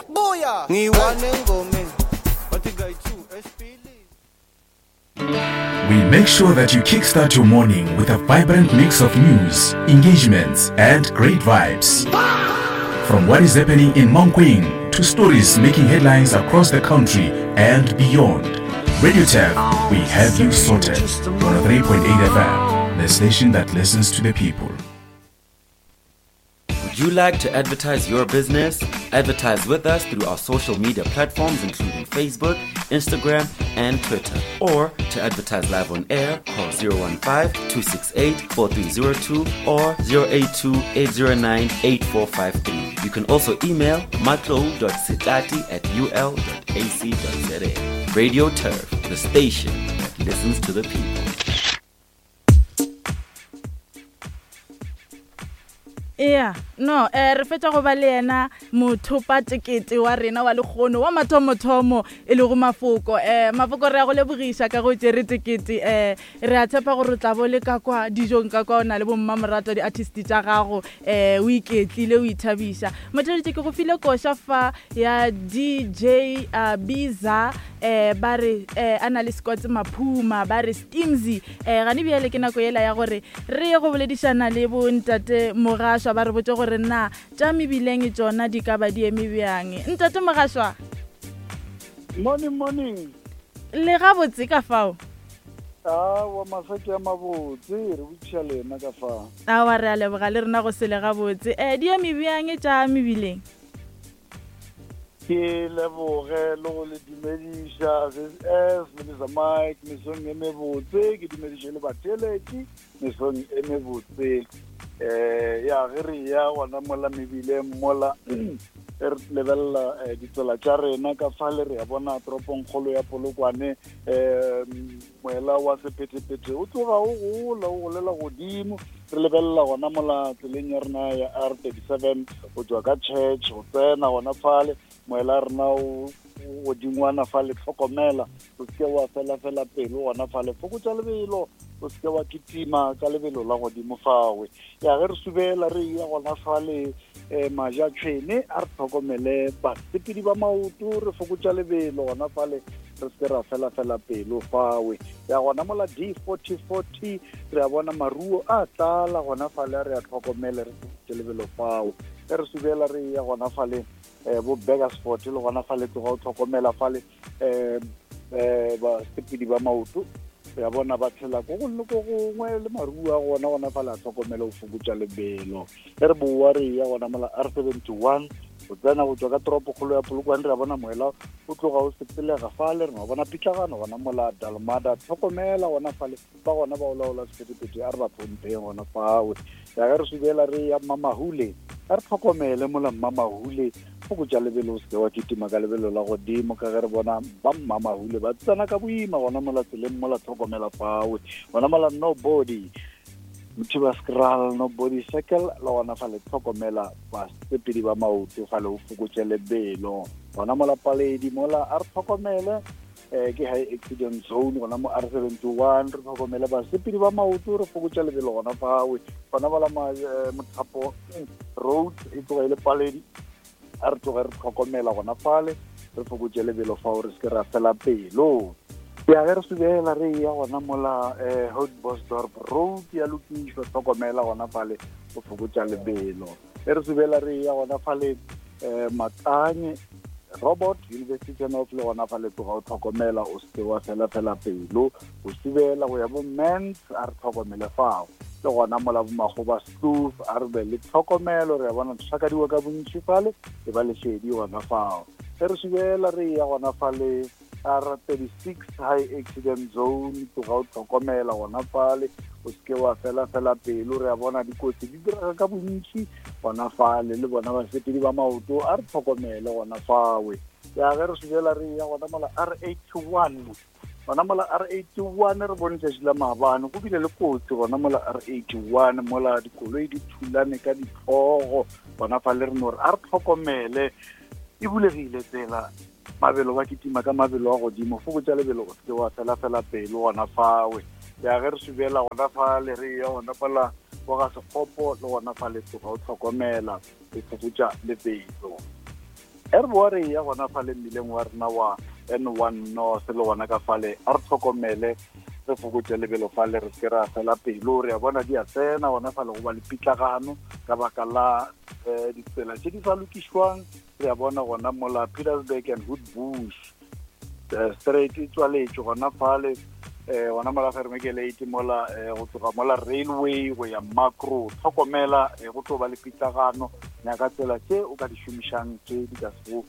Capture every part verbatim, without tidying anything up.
Buya ngiyi-one engomeni bathi kayi-two esipili. We make sure that you kickstart your morning with a vibrant mix of news, engagements, and great vibes. From what is happening in Mankweng to stories making headlines across the country and beyond. Radio Turf, we have you sorted. one oh three point eight F M, the station that listens to the people. Would you like to advertise your business? Advertise with us through our social media platforms including Facebook, Instagram, and Twitter. Or to advertise live on air, call zero one five, two six eight, four three zero two or zero eight two, eight zero nine, eight four five three. You can also email matlo dot sitati at u l dot a c dot z a. Radio Turf, the station that listens to the people. Yeah, no, eh re fetša go ba le yena mothopa tekete wa rena wa lekgono wa mathomothomo e lego Mafoko. Eh Mafoko re a go lebogiša ka go tšere tekete. Eh re a tshepa gore o tla bo le ka kwa dijong ka kwa o na le bommamoratwa di-artist tša gago, eh o iketlile o ithabiša. Motheletše ke go file koša fa ya D J uh, Biza, eh ba re eh a na le Scott Maphuma, ba re Steamzy. Eh gane bjale ke nako yela ya gore re ye go boledišana le bontate Mogašwa, ba re botse gore na tša mebileng tšona di ka ba di eme bjang. Ntate Mogašwa. Morning, morning. Le gabotse ka fao? Awa, masaki a mabotse, re botšiša lena ka fao. Awa, re a leboga le rena go se le gabotse. Eh di eme bjang tša mebileng? Ke leboge le go le dumediša S S le Mister Mike mesong e mebotse, ke dumediše le batheeletši mesong e mebotse. Eh ya ge re ya gona mola mebileng mola re lebelela ditsela tša rena ka fale, re ya bona toropongkgolo ya Polokwane, eh moela wa sephethephethe o tloga o gola o golela godimo. Re lebelela gona mola tseleng ya rena ya R thirty-seven go tšwa ka church go tsena gona fale, moela rena o godingwana fale, tlhokomela o seke wa fela-fela pelo gona fale, fokotša lebelo, o seke wa kitima ka lebelo la godimo fawe. Ya ge re subela re ya gona fale eh maja tšhwene, a re tlhokomele basepedi ba maoto, re fokotša lebelo gona fale, re seke ra fela-fela pelo fawe. Ya gona mola D forty forty re a bona maruo a tlala gona fale, re a tlhokomele re fokotše lebelo fao. Ge re subela re ya gona fale eh bo Burgersfort le gona fale, tloga o tlhokomela fale eh eh basepedi ba maoto, re a bona ba tshela ko gongwe le ko gongwe le maruo a gona gona fale, a tlhokomele o fokotša lebelo. Ge re boa re ya gona mola R seventy-one go tsena go tšwa ka toropokgolo ya Polokwane, re a bona moela o tloga o sepelega fale, re no bona pitlagano gona mola Dalmada, tlhokomela gona fale, ba gona ba olaola sephethephethe, a re ba tlhompheng gona fawe. Ya ge re subela re ya Mmamahule, a re tlhokomele mola Mmamahule, fokotša lebelo, o seke wa kitima ka lebelo la godimo, ka ge re bona ba Mmamahule ba tsena ka boima gona mola tseleng mola, tlhokomela fawe. Gona mola Nobody Mothiba Skral, Nobody Circle le gona fale, tlhokomela basepedi ba maoto fale, o fokotše lebelo. Gona mola Paledi mola, a re tlhokomele eh ke high accident zone gona mo R seventy-one, re tlhokomele basepedi ba maoto, re fokotša lebelo gona fawe. Gona mola Mothapo Road e tloga e le Paledi, a re tloge re tlhokomela gona fale, re fokotše lebelo fao, re seke ra fela pelo. Ya ge re subela re ya gona mola eh Houtbosdorp Road ya lokišwa, tlhokomela gona fale, o fokotša lebelo. Ge re subela re ya gona fale eh Matlanye Robert University Turn-off le gona fale, tloga o tlhokomela, o seke wa fela-fela pelo. O subela go ya bo Mans, a re tlhokomele fao. Le gona mola bo Magoba Stoof, a re be le tlhokomelo, re a bona tšhakadiwa ka bontši fale, e ba lesedi gona fao. Ge re subela re ya gona fale R thirty-six high accident zone, tloga o tlhokomela gona fale, o seke wa fela-fela pelo, re a bona dikotsi di direga ka bontši gona fale, le bona basepedi ba maoto, a re tlhokomele gona fawe. Ya ge re subela re ya gona mola R eighty-one, gona mola R eighty-one re bone tšatši la maabane go bile le kotsi gona mola R eighty-one, mola dikoloi di thulane ka ditlhogo gona fale, re no re a re tlhokomele, e bulegile tsela, mabelo ba kitima ka mabelo a godimo, fokotša lebelo, o seke wa fela-fela pelo gona fawe. Ya ge re subela gona fale re ya gona fala bo ga Sekgopo le gona fale, tloga o tlhokomela, o fokotša lebelo. E re boa re ya gona fale mmileng wa rena wa N one North le gona ka fale, a re tlhokomele re fokotše lebelo fale, re se ke ra fela pelo. Re a bona di a tsena gona fale go ba le pitlagano ka baka la um ditsela tše di sa lokišwang. Re a bona gona mola Petersburg and Woodbush uh, straight e tswaletšwe gona fale, eh gona mola Fermekelate mola eh, go tloga mola railway go ya Macro. Tlhokomela eh, go tlo ba le pitlagano, nyaka tsela tše o ka di šomišang tše di ka se go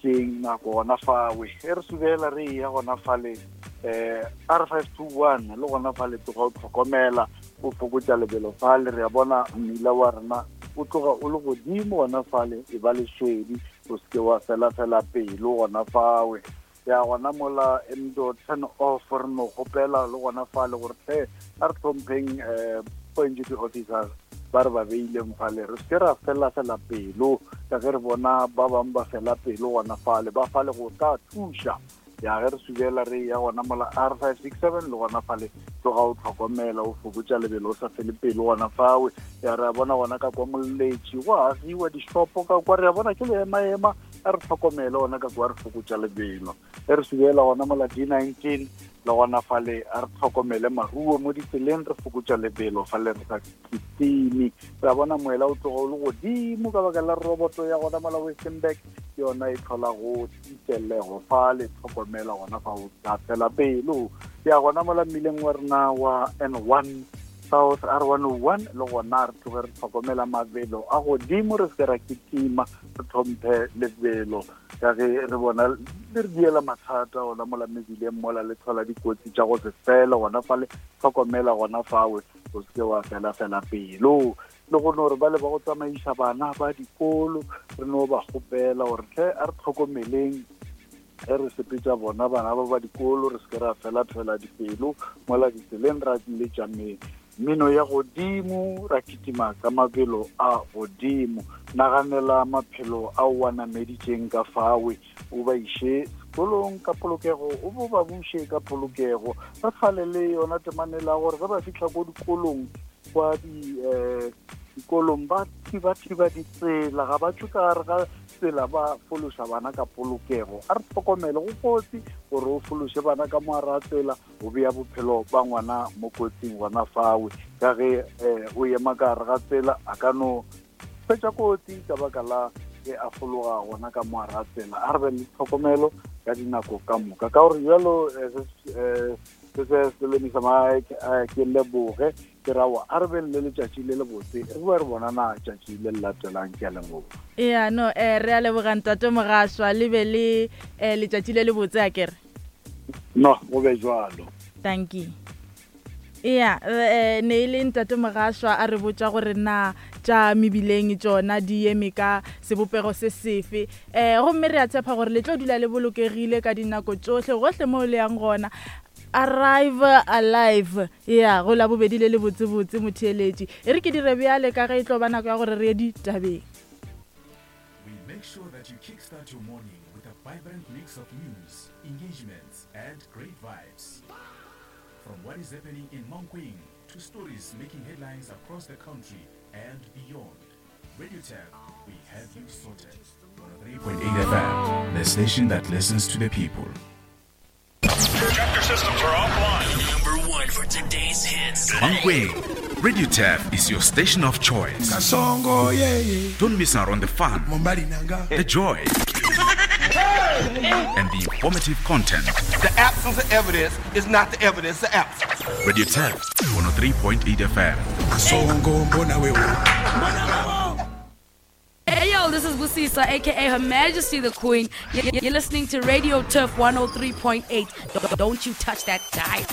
tšeng nako gona fawe. E re subela re ya gona fale eh R five two one le gona fale, tloga o tlhokomela o fokotša lebelo fale. Re a bona mmila wa rena o tloga o le godimo gona fale, e ba leswedi, o se ke wa fela-fela pelo gona fawe. Ya gona mola M dot turn off, re no kgopela le gona fale gore tle a re hlompheng um point duty officers ba re ba beileng fale, re se ke ra fela-fela pelo ka ge re bona ba bangwe ba fela pelo gona fale, ba fale go tla thuša. Ya ge re subela re ya gona mola R five six seven le gona fale, tloga o tlhokomela o fokotša lebelo o sa fele pelo gona fawe. Ya re a bona gona ka kwa Moletši go agiwa dishopo ka kwa, re a bona ke leemaema, a re tlhokomele gona ka kwa re fokotša lebelo. E re subela gona mola D nineteen le gona fale, a re tlhokomele maruo mo ditseleng, re fokotša lebelo fale, re sa kitime. Re a bona moela o tloga o le godimo ka baka la roboto ya gona mola Westernburg, ke yona e tlhola go titelego fale, tlhokomela gona fa o tla fela pelo. Ya gona mola mmileng wa rena wa N one South R one oh one le gona re tloge re tlhokomela mabelo a godimo, re se ke ra kitima, re tlhomphe lebelo ka ge re bona le re diela mathata gona mola mebileng mola le tlhola dikotsi tša go se fele gona fale, tlhokomela gona fawe, o se ke wa fela-fela pelo. Le go no re ba le ba go tsamaiša bana ba dikolo, re no ba kgopela gore tle a re tlhokomeleng ge re sepetša bona bana ba ba dikolo, re se ke ra fela-fela dipelo mola ditseleng, ra letša mmino ya godimo, ra kitima ka mabelo a godimo. Naganela maphelo a o a nameditšeng ka fawe, o ba iše sekolong ka polokego, o bo ba buše ka polokego. Re tlhale le yona temanela gore ge ba fihla ko dikolong, kwa di eh dikolong ba thiba-thiba ditsela, ga ba tšwe ka gare ga tsela, ba fološa bana ka polokego. A re tlhokomele, go kotsi gore o fološe bana ka mo gare ga tsela, o bea bophelo ba ngwana mo kotsing gona fawe, ka ge um o ema ka gare ga tsela a ka no fetša kotsi ka baka la ge a fologa gona ka mo gare ga tsela. A re be le tlhokomelo ka dinako ka moka, ka gore jalo se se se lemisa Mike, ke leboge ke rawa, a re be le letšatši le lebotse, re boe re bonana tšatši le le latelang. Ke a leboga. Ya no eh re a leboga ntate Mogaswa, le be le eh letšatši le lebotse a kere. No, go be jwalo. Thank you. Ya eh ne le ntate Mogaswa a re botša gore na tša mebileng tšona di eme ka sebopego se sefe. Eh gomme re a tshepa gore le tlo dula le bolokegile ka dinako tšohle gohle mo le yang gona. Arrive alive. Ya go la bobedi le le botsebotse motheeletši. E re ke dire bjale ka ge e tlo ba nako ya gore re ye ditabeng. We make sure that you kickstart your morning with a vibrant mix of news, engagements, and great vibes. From what is happening in Mankweng to stories making headlines across the country and beyond. Radio Turf, we have you sorted. one oh three point eight F M, the station that listens to the people. Chapter systems are offline. Number one for today's hits. Mankweng, Radio Turf is your station of choice. Kasongo, yeah, yeah. Don't miss out on the fun, the joy, and the informative content. The absence of evidence is not the evidence of absence. Radio Turf, one oh three point eight F M. Kasongo, mbona wewe. Hey yo, this is Busisa, aka Her Majesty the Queen. You're listening to Radio Turf one oh three point eight. Don't you touch that dial.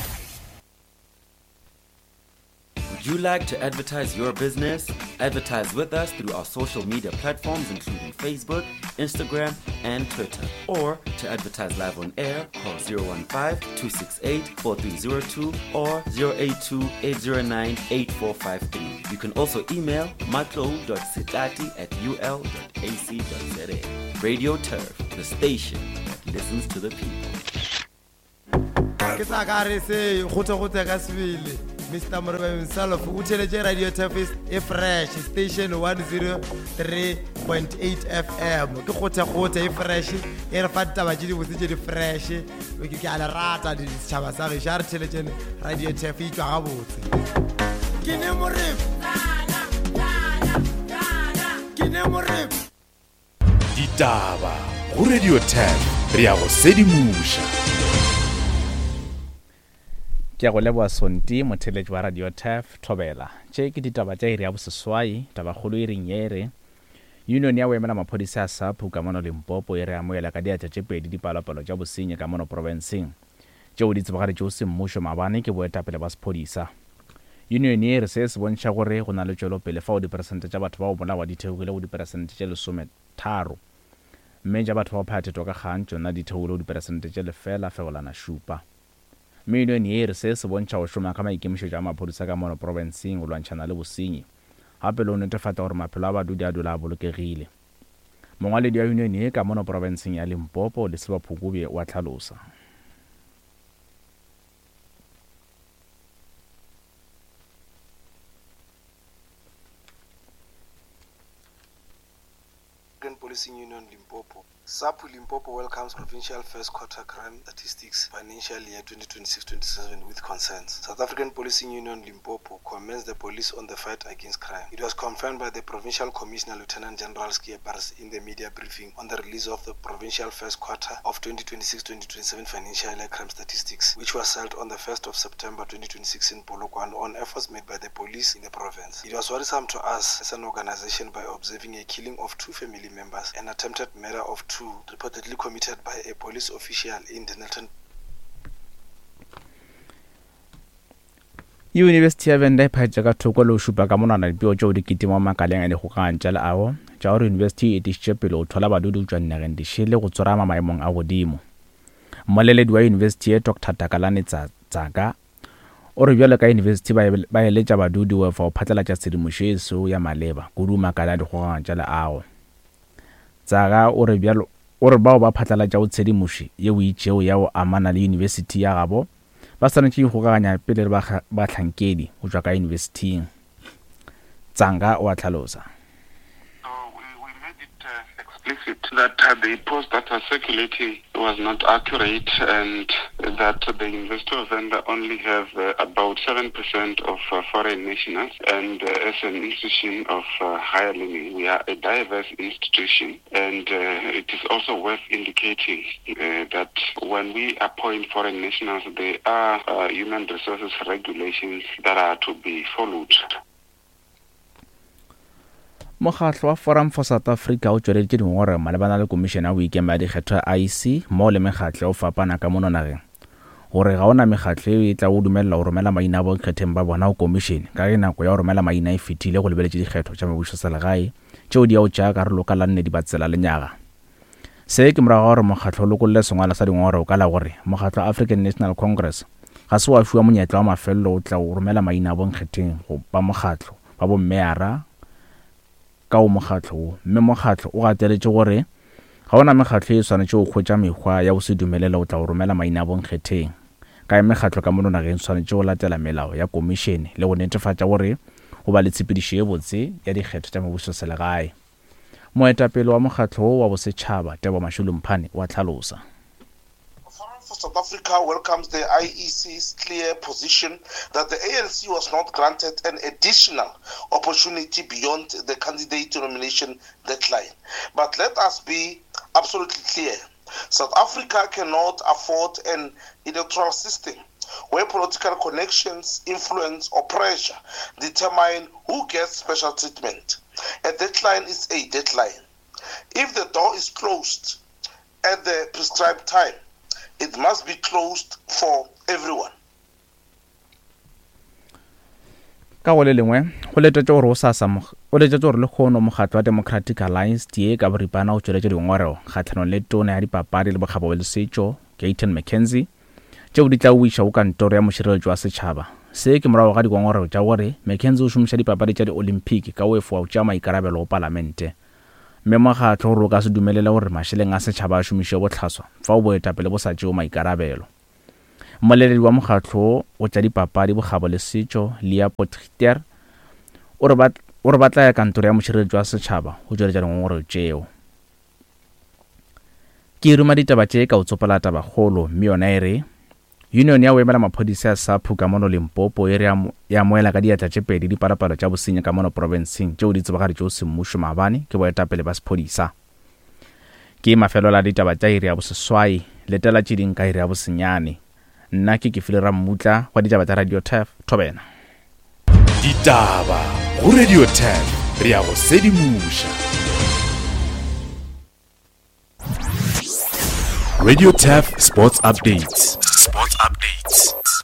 Would you like to advertise your business? Advertise with us through our social media platforms, including Facebook, Instagram, and Twitter. Or to advertise live on air, call zero one five, two six eight, four three zero two or zero eight two, eight zero nine, eight four five three. You can also email matlo dot sitati at u l dot a c dot z a. Radio Turf, the station that listens to the people. Ke tla ka re se gote gote ka sebele. Mister Morebe himself o theletše Radio Turf e fresh station one oh three point eight F M. Ke kgothekgothe e fresh, e re fa ditaba tše dibotse tše di fresh. Ke ke a le rata ditšhaba sa gešo, a re theletšene Radio Turf e tšwa gabotse. Ke ne morep. Ke ne morep. Ditaba go Radio Turf, re ya go sedimoša. Ke go leboa Sonti, motheletši wa Radio Turf, Thobela. Tše ke ditaba tša iri ya boseswai, tabakgolo e reng ye re Union ya go emela maphodisa a SAPU ka mono Limpopo e re amohela ka diatla tše pedi dipalopalo tša bosenyi ka mono profenseng tšeo di tsebagaditšego semmušo maabane ke boetapele ba sephodisa. Union ye re se se bontšha gore go na le tšwelopele fao diperesente tša batho ba go bolawa di theogile go diperesente tše lesometharo, mme tša batho ba go phathetwa ka kgang tšona di theogile go diperesente tše lefela fegelwana šupa. Mme union ye re se se bontšha go šoma ka maikemišetšo a maphodisa ka mono profenseng go lwantšhana le bosenyi, gape le go netefatša gore maphelo a badudi a dula a bolokegile. Mongwaledi wa union ye ka mono profenseng ya Limpopo, Lesiba Phukubye, wa tlhalosa. Policing Union Limpopo. SAPU Limpopo welcomes provincial first quarter crime statistics financial year twenty twenty-six twenty-seven with concerns. South African Policing Union Limpopo commends the police on the fight against crime. It was confirmed by the Provincial Commissioner Lieutenant General Skiepers in the media briefing on the release of the provincial first quarter of twenty twenty-six twenty twenty-seven financial year crime statistics, which was held on the first of September twenty twenty-six in Polokwane on efforts made by the police in the province. It was worrisome to us as an organization by observing a killing of two family members and attempted murder of two reportedly committed by a police official in Dennilton. University ya Venda e phaetša ka thoko le go šupa ka monwana dipeo tšeo di kitima makaleng a dikgokagano tša leago tša gore university e etišitše pele go thwala badudi go tšwa dinageng dišele go tsorama maemong a godimo. Mmoleledi wa university ye Doctor Takalane Tsaka o re bjalo ka university ba eletša badudi go efa go phatlalatša tshedimošo e seo ya maleba kudu makala a dikgokagano tša leago. Tsaka o re bjalo o re bao ba phatlalatšago tshedimošo yeo itšego ya go amana le university ya gabo ba swanetše go ikgokaganya pele le bahlankedi go tšwa ka universityng. Tsanga o a tlhalosa. Explicit that uh, the post that was circulating was not accurate and that the University of Venda only have uh, about seven percent of uh, foreign nationals, and uh, as an institution of uh, higher learning, we are a diverse institution, and uh, it is also worth indicating uh, that when we appoint foreign nationals, there are uh, human resources regulations that are to be followed. Mokgatlo wa Forum for South Africa o tšweleditše dingongorego malebana le komišene ya boikemo ya dikgetho ya I E C mmogo le mekgatlo ya go fapana ka mono nageng gore ga ona mekgatlo yeo e tla go dumelela go romela maina a bonkgetheng ba bona go komišene ka ge nako ya go romela maina e fetile go lebeletše dikgetho tša mebušoselegae tšeo di ya go tšea karolo ka la nne Dibatsela lenyaga. Se ke morago ga gore mokgatlo o lokolle sengwalo sa dingongorego ka la gore mokgatlo wa African National Congress ga se wa fiwa monyetla wa mafelelo o tla go romela maina a bonkgetheng go ba mokgatlo ba bommeara ka o mokgatlo wo, mme mokgatlo o gateletše gore ga ona mekgatlo e swanetše go hwetša mekgwa ya go se dumelele go tla go romela maina a bonkgetheng ka mekgatlo ka mono nageng swanetše go latela melao ya komišene le go netefatša gore go ba le tshepedišo ye botse ya dikgetho tša mebusoselegae. Moetapele wa mokgatlo wa bosetšhaba Tebo Mashulu Mphane wa tlhalosa. South Africa welcomes the I E C's clear position that the A N C was not granted an additional opportunity beyond the candidate nomination deadline. But let us be absolutely clear. South Africa cannot afford an electoral system where political connections, influence, or pressure determine who gets special treatment. A deadline is a deadline. If the door is closed at the prescribed time, it must be closed for everyone. Ka go le lengwe go letetše gore o sasa o letetše gore lekgono mokgatlo wa Democratic Alliance D A ka boripana o tšweletše dingongorego kgahlanong le tona ya dipapadi le bokgabo le setšo Gayton McKenzie tšeo di tla o iša go kantoro ya mošireletši wa setšhaba. Se ke morago ga dingongorego tša gore McKenzie o šomiša dipapadi tša di-Olympic ka o efoa go tšea maikarabelo go palamente, mme mokgatlo gore o ka se dumelele gore mašeleng a setšhaba a šomiše bohlaswa fao boetapele bo sa tšeo maikarabelo. Mmoleledi wa mokgatlo o tša dipapadi bokgabo le setšo Lia Potgieter o re ba O re ba tla ya kantoro ya mošireletši wa setšhaba go tšweletša dingongorego tšeo. Ke ruma ditaba tše ka o tsopola tabakgolo, mme yona e re Union ya go emela maphodisa ya SAPU ka mono Limpopo e re ya amoela ka diatla tše pedi dipalopalo tša bosenyi ka mono profenseng tšeo di tsebagaditšego semmušo maabane ke boetapele ba sephodisa. Ke mafelo la ditaba tša iri ya boseswai, letela tše ding ka iri ya bosenyane. Nna ke Kefile Rammutla wa ditaba tša Radio Turf, Thobela. Ditaba go Radio Turf, re ya go sedimoša. Radio Turf Sports Updates.